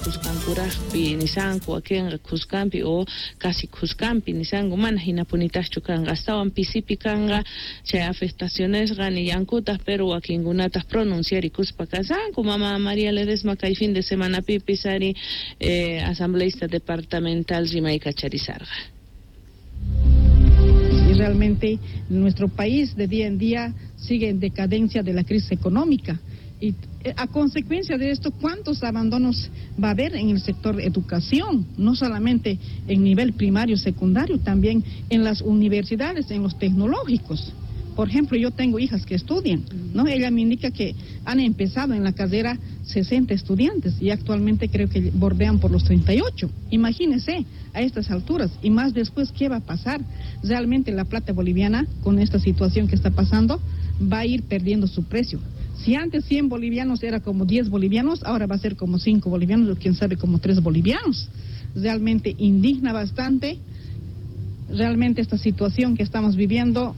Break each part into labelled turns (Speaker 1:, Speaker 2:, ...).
Speaker 1: Kuskankurajpi nisanku, wakinqa kuskanpi o casi kuskanpi nisanku, mana hinapunitajchu kanqa, astawan pisipi kanqa chay afectacionesqa nillankutaj, pero wakinkunataj pronunciarikuspa kasanku. Mama María Ledesma kay fin de semanapipis ari asambleísta departamental rimaykacharisarqa.
Speaker 2: Y realmente nuestro país de día en día sigue en decadencia de la crisis económica. Y a consecuencia de esto, ¿cuántos abandonos va a haber en el sector educación? No solamente en nivel primario, secundario, también en las universidades, en los tecnológicos. Por ejemplo, yo tengo hijas que estudian, ¿no? Ella me indica que han empezado en la carrera 60 estudiantes y actualmente creo que bordean por los 38. Imagínense a estas alturas y más después, ¿qué va a pasar? Realmente la plata boliviana, con esta situación que está pasando, va a ir perdiendo su precio. Si antes 100 bolivianos era como 10 bolivianos, ahora va a ser como 5 bolivianos o quién sabe como 3 bolivianos. Realmente indigna bastante. Realmente esta situación que estamos viviendo,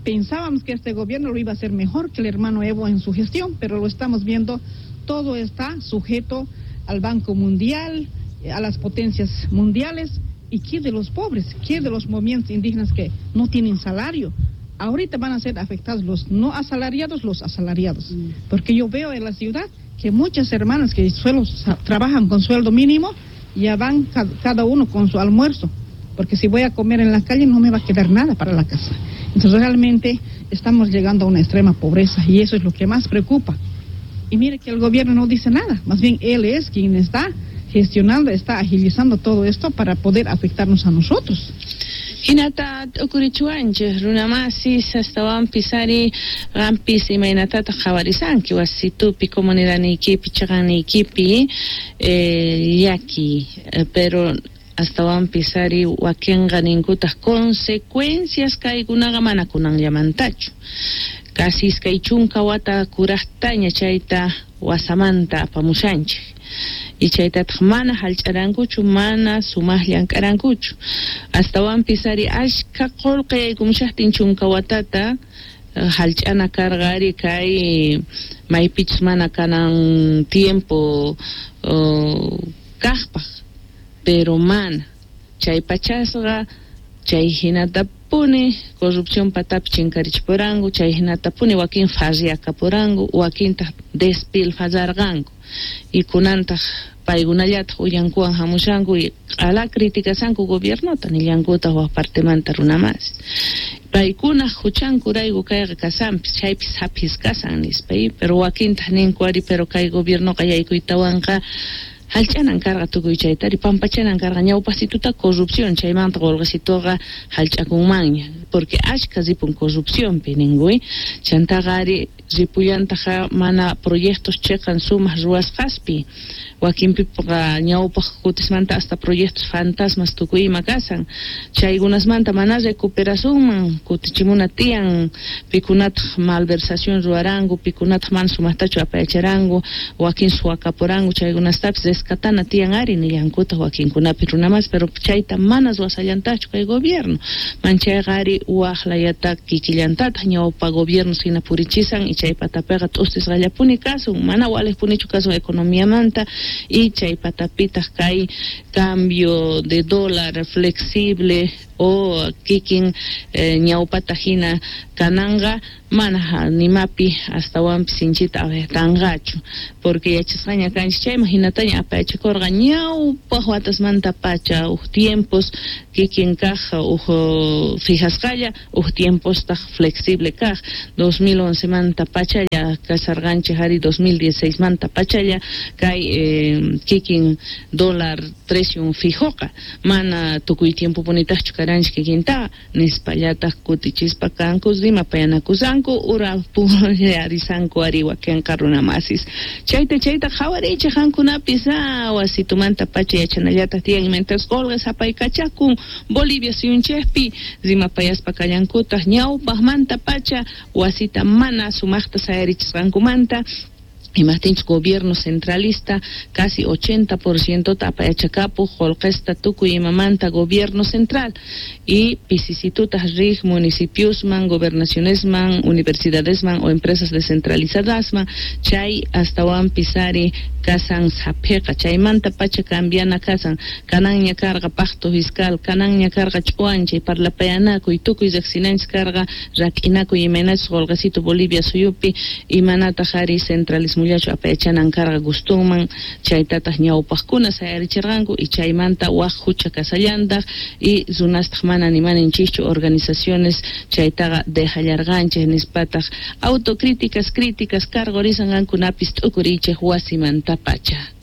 Speaker 2: pensábamos que este gobierno lo iba a hacer mejor que el hermano Evo en su gestión, pero lo estamos viendo, todo está sujeto al Banco Mundial, a las potencias mundiales, y qué de los pobres, qué de los movimientos indígenas que no tienen salario. Ahorita van a ser afectados los no asalariados, los asalariados. Porque yo veo en la ciudad que muchas hermanas que trabajan con sueldo mínimo, ya van cada uno con su almuerzo. Porque si voy a comer en la calle no me va a quedar nada para la casa. Entonces realmente estamos llegando a una extrema pobreza y eso es lo que más preocupa. Y mire que el gobierno no dice nada, más bien él es quien está gestionando, está agilizando todo esto para poder afectarnos a nosotros.
Speaker 1: Hinata t'ukurichuwanchej runamasis astawanpis ari qampis imaynatataq qhawarisanki wasitupi comunidadniykipi chaqanniykipi llaki, pero astawanpis ari wakinqa ninkutaj consecuencias kaykunaqa mana kunanllamantachu. Casi 20 wata kurajtaña chayta wasamanta apamushanchej. Y chaytataq mana hallch'arankuchu, mana sumaj llank'arankuchu. Astawanpis ari ashka qullqi yaykumushatin 10 watata hallch'ana karqa ari kay maypichus mana kanan tiempo kaqpaq, pero mana chay pachasqa chay hinatapuni corrupción patapi chinkarichipuranku, chay hinatapuni wakin farriakapuranku, wakintaq despilfarrarqanku. Y kunantaq paykunallataq uyankuwan hamushanku y q'ala criticasanku gobiernota nillankutaq wak partemanta runamas. Paykunaq huchankurayku kayqa kasanpis, chaypis hapis kasan nispa, pero wakintaq ninku ari, pero kay gobiernoqa yaykuytawanqa hallch'anan karqa tukuy chaytari, pampachanan karqa ñawpasituta corrupción, chaymanta qullqisituqa hallch'akunmanña, porque ashka ripun corrupcionpi ninkuy, chantaqa ari ripullantaqa mana proyectos chiqan sumaq ruwasqaspi, wakinpiqa ñawpaq kutismanta hasta proyectos fantasmas tukuy ima kasan, chaykunasmanta mana recuperasunman, kutichimuna tiyan, pikunataq malversación ruwaranku, pikunataq mana sumaqtachu apayacharanku, wakin suwakapuranku, chaykunastapis rescatana tiyan ari nillankutaq wakinkunapi runamas, pero chayta mana ruwasallantachu kay gobierno, manchayqa ari waqlayata kikillantataq ñawpa gobierno hina purichisan y chay patapiqa t'ustisqallapuni kasun, mana waliqpunichu kasun economiamanta, y chay patapitaq kay cambio de dólar flexible o kikin ñawpata hina kananqa mana nimapi astawanpis sinchita afectanqachu, porque yachasqaña kanchik chayman hinataña apayachikurqa ñawpaq watasmanta pacha uj tiempos kikin kaq uj fijasqalla uj tiempostaq flexible kaq 2011 manta pachalla kasarqanchik ari 2016 manta pachalla kay kikin dólar precio fijoqa mana tukuy tiempo punitaqchu karanchik kikinta nispallataq kutichispa kanku rimapayanakusanku ura purisanku ari wakinqa runamasis chayta qhawarichik qankunapis wasitumanta pacha yachanallataq tiyan mientras qullqi sapaykachakun Bolivia suyunchikpi rimapayaspa kallankutaq ñawpaqmanta pacha wasita mana sumaqta sayarichisqankumanta. Imajtinchus gobierno centralista casi 80% apayachakapuj qolqesta tukuy imamanta gobierno central y pisisitutaj rij municipiosman, gobernacionesman, universidadesman o empresas descentralizadasman, chay astawanpis ari kasan saphiqa, chaymanta pacha cambiana kasan, kananña karqa pacto fiscal, kananña karqa ch'uwanchay, parlapayanakuy, tukuy riqsinanchis karqa rak'inakuy imaynachus qolqesitu Bolivia suyupi, imanataj ari centralismollachu apayachanan karqa gustunman, chaytataj ñawpaqkuna sayarichirqanku y chaymanta waj hucha kasallantaj y runastaj mana nimaninchikchu organizaciones chaytaqa dejallarqanchik nispataj autocríticas, críticas karqurisan qankunapis t'ukuriychik wasimantapacha.